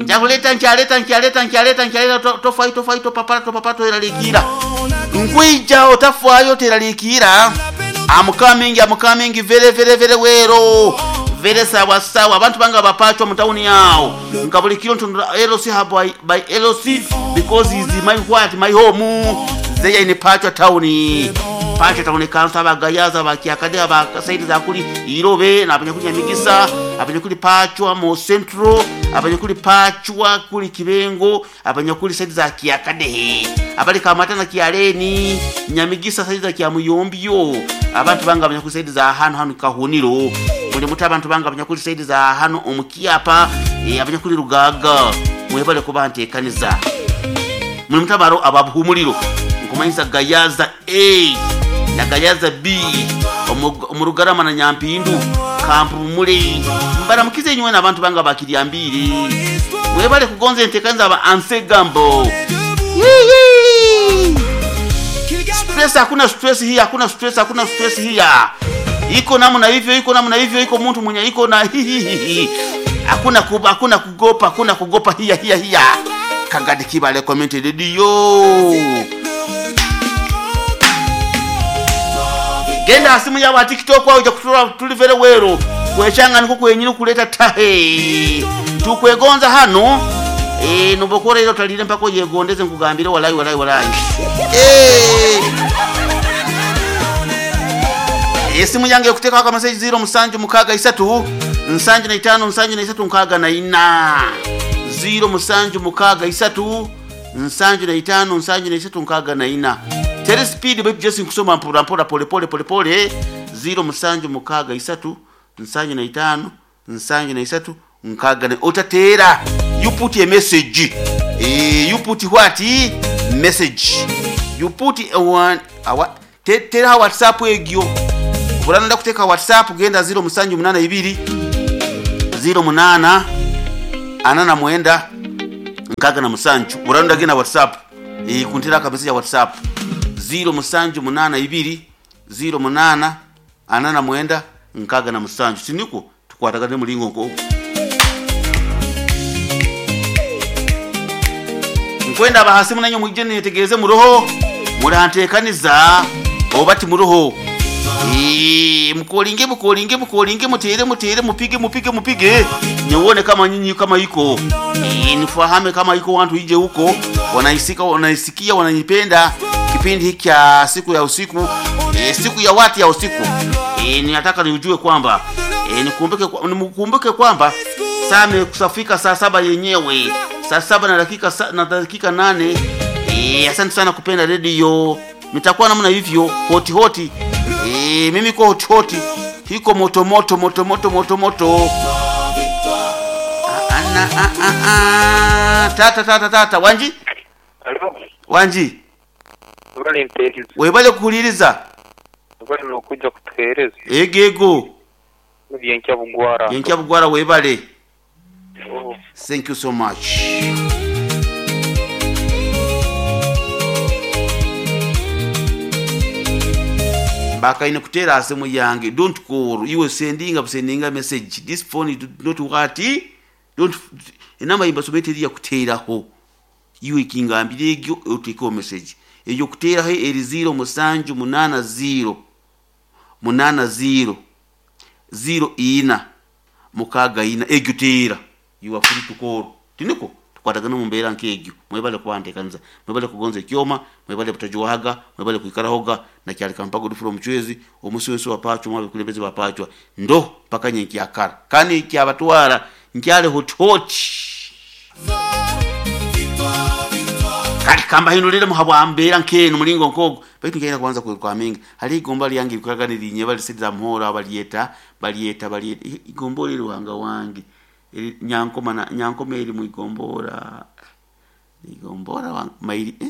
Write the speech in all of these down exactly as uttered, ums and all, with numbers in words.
Njakuleta nkyaleta nkyaleta nkyaleta nkyaleta to- tofaayo tofaayo topapala topapala toyeraliikira nkwija otafaayo teraliikira. I'm coming, I'm coming very very very well, very sawa sawa. Abantu banga bapachwa mu town yao nga buli kiro ntundura L C hub by, by L C because is my what, my home zeya in Pachwa town, Pachwa town council. Abagayaza bakyakade abasaidi za kuli Irobe nabanyakuli Nyamigisa, abanyakuli Pachwa mu Central, abanyakuli Pachwa kuli Kibengo, abanyakuli saidi za Kyakadehe, abali Kamata na Kyaleni, Nyamigisa, saidi za Kyamuyombyo. Abantu banga abanyakuli saidi za hano hano Kahuniro muli muti. Abantu banga abanyakuli saidi za hano omukyapa, eh, abanyakuli Rugaga, mwebale kuba ntekaniza muli mutabaro ababuhumuliro nkumanyisa Gayaza A na Gayaza B omu- omu Rugarama na Nyampindu kampumule mbaramukize nywe n'abantu banga bakiryambiri mwebale kugonza entekaniza aba ansegambo. Yee! Stress, hakuna stress hii, hakuna stress, hakuna stress hii ya iko namna hivyo, iko namna hivyo, iko mtu mwenye iko na hihihihi, hakuna kuba, hakuna kugopa, hakuna kugopa hiya hiya hiya. Kangadi Kibale comment radio, genda asimu yawa TikTok au kutura tuli very well kwechanga niko kwenyini kuleta tahe tukwegonza hano. Eh, nubokora ilo talire mpaka yegondeze nkugambire walai walai walai. Eh, esimu yange ekuteekako akameseji ziro musanju mukaaga isatu nsanju na itaano nsanju na isatu nkaaga na ina, ziro musanju mukaaga isatu nsanju na itaano nsanju na isatu nkaaga na ina. Tere speed baitu jesi nkusoma mpora mpora pole pole pole pole. Ziro musanju mukaaga isatu nsanju na itaano nsanju na isatu nkaaga na otateera. You put a message, eh, you put what message, you put a one awa te, tera WhatsApp egyo obulana ndakuteeka WhatsApp genda ziro musanju munana ibiri ziro munana ana na mwenda nkaga na musanju. Bulana ndagenda WhatsApp, e, kuntera akamessage ya WhatsApp ziro musanju munana ibiri ziro munana ana na mwenda nkaga na musanju. Siniko tukwatagane mulingo nko nkwenda abahasi munanyo mwijje netegereze muroho murantekaniza oba ti muroho. Eh, mkolinge mkolinge mkolinge mutere mutere mupige mupige mupige niuone kama nyinyi kama iko. Eh, nifahame kama iko watu ije huko wanaisika wanaisikia wananipenda kipindi hiki cha siku ya usiku, eh, siku ya watu ya usiku. Eh, ninataka niujue kwamba, eh, nikumbuke kwa- nikumbuke kwamba saa imekusafika saa saba yenyewe, saa saba na dakika sa, na dakika nane. Eh, asante sana kupenda redio, nitakuwa namna hivyo hoti hoti. Eh, mimi ko hoti hoti hiko moto moto moto moto moto moto. Ana a a a tata tata tata wanji. Alo, Wanji. bali ntekereza. Webale kuhuliriza. Bali nokuja kutuhereza. Egego. Byenkya bugwara. Yenkya bugwara, webale. Oh. Thank you so much. Bakaine kutera asimu yange, don't call, iwe sendinga sendinga message. This phone is not what, don't enamba imbasomete ya kuteraho iwe kingambire egyo otekeho message eyo kuteraho eri ziro musanju munana ziro munana ziro ziro ina mukaaga ina egyo teera. You are free to call. Tiniko tukwatagana mu mbeera nk'egyo. Mwebale kubanteekaniza, mwebale kugonza ekyoma, mwebale butajuwaga, mwebale kwikarahoga nakyalika mpago dufura omucwezi omusi wensi wapachwa mwabikulembeze bapachwa ndo mpaka nyenkyakara kandi nkyabatwara nkyale hotihoti kati kambahindulire muhabwa mbeera nk'eno mulingo nkogo baitu nkaina kubanza kwekwaminga hali igomba lyange bikuraga nirinye balisiriza muhoro balyeta balyeta balyeta igomba eri ruhanga wange. Eri- nyankoma na nyankoma eri mwigombora igombora wa- mairi eh?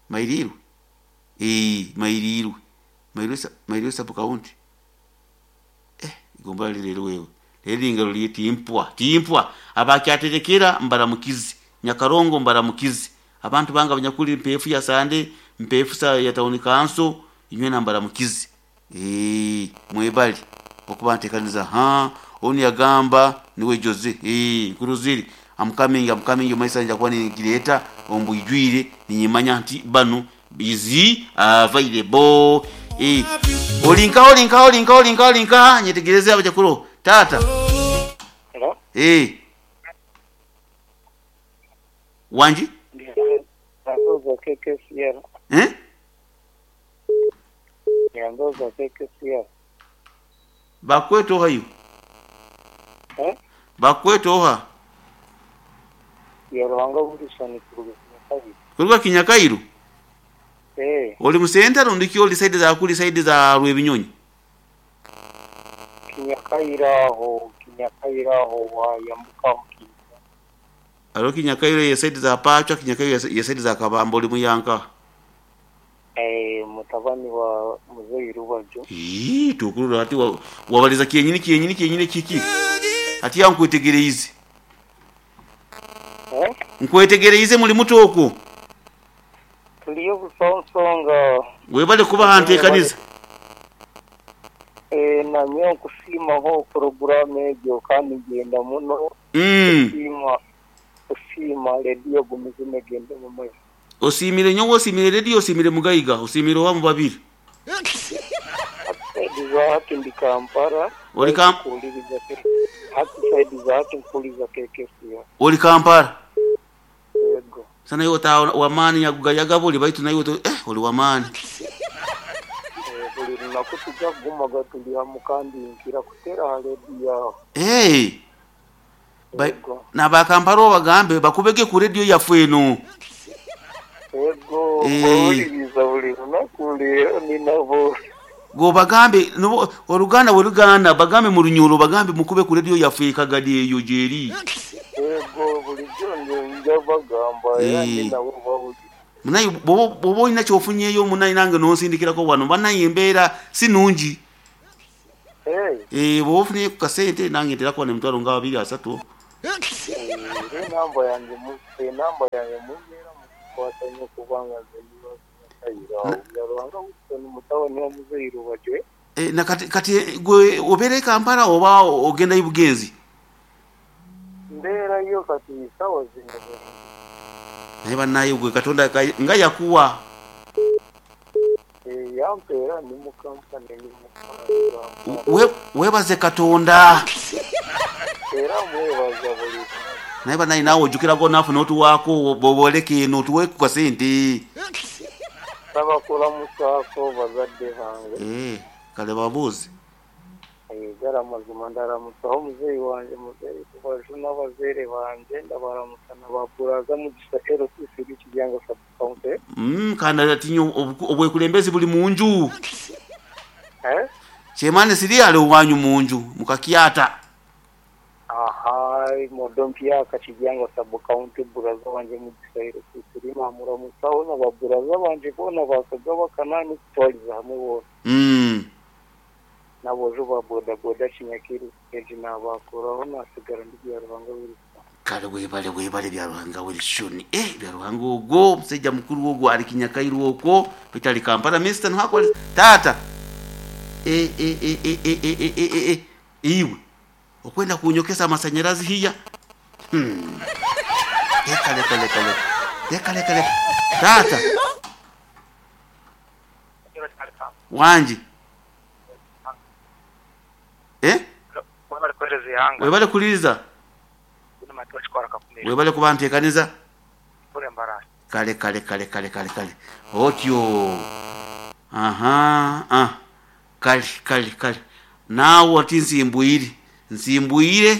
Mairirwe, eh mairirwe mairirwe sa- mairirwe sub county, eh igombora lirero wewe lero ingalo timpwa timpwa abakyaterekera mbaramukizi Nyakarongo mbaramukizi abantu banga abanyakuli mpefu ya sande mpefu sa ya town council inywe na mbaramukizi. Eh, mwebali okuba ntekaniza ha oni yagamba niwe Jose, eh nkuruziri I'm coming, I'm coming omaisa kuba ningireta ombwijwire ninyimanya nti bano is available. Eh, olinka olinka olinka olinka olinka nyetegereze abajakuro tata. Hello? Eh, wanji Nyanzoza K K C R. eh Nyanzoza K K C R. bakweto hayo Eh? bakweto ha Yaruhanga Wilson kuruga Kinyakairu. kuruga Kinyakairu. Eh, Oli musenta rundi oli side za kuli side za Rwebinyonyi. Kinyakairu aho, Kinyakairu aho wayambuka aho Kinyakairu. Alo Kinyakairu ye side za Pacha, Kinyakairu ye side za Kabambo oli muyanka. Eh, mutabani wa Muzeyi Rubajo. Ii, tukurura ati wa, wabaliza kiyenyini kiyenyini kiyenyini kiki. Ati ya nkwetegereize. Eh? Nkwetegereize muli muto okwo. Tuliyo busonsonga. Webale kuba hanteekaniza. Eh, namye okusiimaho poroguramu egyo kandi ngenda muno. Mm. Kusiima kusiima rediyo gumize negende mu maiso. Osimire nyowe, osimire rediyo, osimire mugayiga, osimire owa mu babiri. Saidi za hati ndi Kampala. Oli Kam- Nkuwuliriza ke- hati saidi za hati nkuwuliriza K K C R. Oli Kampala. Yego. Sana iwe ota wamaani yagugayaga buli baitu naye oto eh oli wamaani. Eh, buli lunaku tujja kugumaga tuli hamu kandi nkira kuteera ha rediyo aho. Eh. Ba- Yego. Nabakampala obagambe bakubege ku rediyo yaffe eno. Yego, Eh. mbawuliriza buli lunaku leero ninabo. Gobagambe nobo oluganda bwe luganda bagambe mu lunyolo bagambe mukube ku rediyo yaffe ekagadi eyo gyeri. Yego, bulijjo nze nja bagamba era Eh. ndi nabo bawulira. Munaye bw'oba bw'oba olina ky'ofunyeeyo munaye nange n'onsindikirako wano bannaye embeera si nnungi. Eh. Eh, bw'oba ofunyeeyo ku kasente nange nterako wano emitwalo nga abiri asatu. Eh, enamba yange mu enamba yange mumbeera mukukwata nnyo kubanga nze ndi wa Kinyakairu awo. Byaruhanga Wilson mutabani wa Muzeeyi Rubajo. Eh, na kati kati gwe obeera e Kampala oba ogendayo bugenzi? Mbeerayo kati essaawa zino. Naye bannaye gwe Katonda ka- nga yakuwa. Eh, yampeera ndi mu kampani ndi mu kampani. We- weebaze Katonda. Era mwebaza buli lunaku. Naye bannaye naawe ojjukirako naafe n'otuwaako bw'oboleka eno otuwe ku kasente. Nsaba kulamusaako bazadde bange. Eh, kale babuuze. Eh, ddala mazima ndalamusaho muzeeyi wange Muzeeyi Rubajo n'abazeere bange ndabalamusa na ba Buraza Mugisha L C C Kiryanga sub county. Mm, kandi ati nnyo obu- obwekulembeze buli mu nju. Eh? Kyemane siri ali owanyu mu nju mu kakyata. Aha, modompyaka Kiryanga sub county Buraza wange Mugisha L C C namuramusaho na ba Buraza banje boona bakagaba kanaani kutwaliza hamwe boona. Mm. N'aboojo ba bodaboda Kinyakairu stage naabakuraho nasigara ndi Byaruhanga Wilson. Kale weebale weebale Byaruhanga Wilson. Eh, Byaruhanga ogwo omusajja mukulu ogwo ali Kinyakairu okwo bitali Kampala Mister nhakola taata. Eh, eh, eh, eh, eh, eh, eh, eh, eh, eh. Iwe okwenda kunyokesa amasanyalazi hiya. Hmm. Leka leka leka leka. Leka leka leka. Taata. Wangi. Eh? Webale kuhereza ihanga. Webale kuliriza. Kakumira. Webale kuba nteekaniza. Kule mbarasi. Kale kale kale kale kale kale. Otyo. Aha, ah. Kale kale kale. Naawe ati nsimbwire. Nsimbwire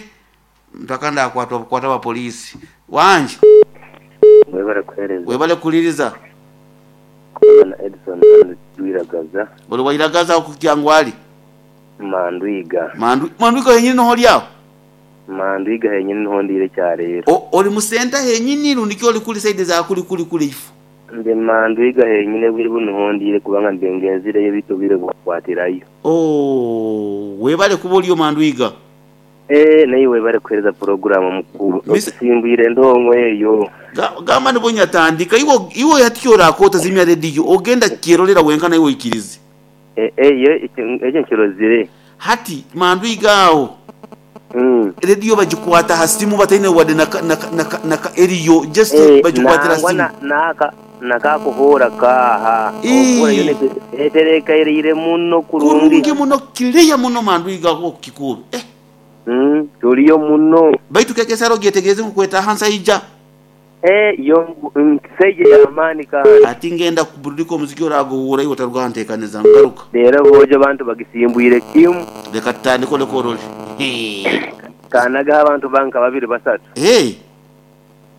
mpaka ndakwatwa bukwata ba poliisi. Wangi. Webale kuhereza. Webale kuliriza. Kubona Edison Ndwiragaza. Oli wairagaza okukyangwali. Mandwiga. Mandu mandwiga yenyini noho lyawo. Mandwiga henyini niho ndire cyarero. O- Oli musenta henyini rundi oli kuli side za kuli kuli kuli ifu. Ndi mandwiga henyine buri buno niho ndire kubanga ndengenzireyo bitobire gukwatirayo. Oh, webale kuba oliyo mandwiga. Eh naye webale kuhereza program mukuru. Miss- Okusimbwire ndongo eyo. Ga- Gamba nibo nyatandika iwo iwo yatyo akota zimya rediyo ogenda kyerolera wenka naye oikirize. Eh eh yo ekyo nkirozire. Hati mandwiga awo. Mm. Rediyo bagikwata ha simu bataine wadde naka naka naka naka eriyo just Eh, bagikwatira nangwa simu. na- naka nakakuhura kaha Ii. okura yo eterekairire muno kurungi. Kurungi muno kiriya muno mandwiga okukikuube eh. Mm, tuliyo muno. Baitu kekesaro gyetegereze nkukweta hansaija. Eh, yo nkiseje yamaani kandi. Ati ngenda kuburudika omuziki oraguhura iwe otarwanteekaniza ngaruka. Rero bojo abantu bagisimbwire kimu. Leka tutandike oleke orole. Kanagaho abantu banka babiri basatu. Hey,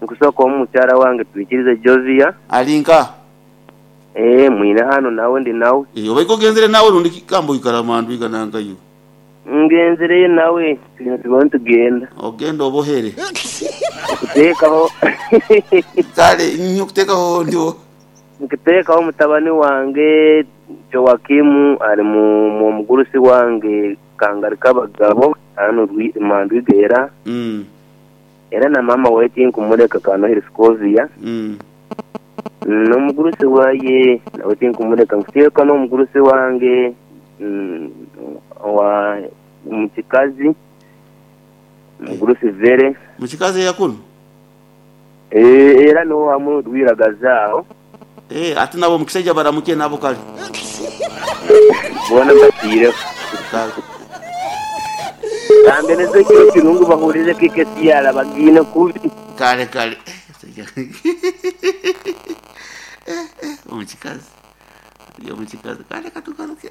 Nkusooka omukyala wange twikirize Josia. alinka. Eh, mwine hano nawe ndi nawe. Eh, obaiko ogenzere nawe rundi kikambo ikara mandwiga nankayo. Ngenzereyo nawe twine tubone tugenda. Ogenda obohere. Kuteekaho Kale nnyo kuteekaho ndiwo. nkuteekaho mutabani wange Joakimu ari mu mu mugurusi wange Kangari kabagabo hano Rwi- Mandwiga era Mm. era na mama we tinkumureka Kanohiri Scovia. Mm. N'omugurusi waye nawe tinkumureka nkuteeka n'omugurusi wange mm, wa mukikazi mugurusi Vere. Mukikazi eyakuno. Eh, era niho hamwe rwiragaza aho. Eh, ate nabo mukisajja baramuke nabo kale. Bona batiireho. Kale. Kambe kiro kirungu bahurize kikesiyara bagiine kubi. Kale kale. Eh, eh, omukikazi. Ali omukikazi. Kale katugaruke.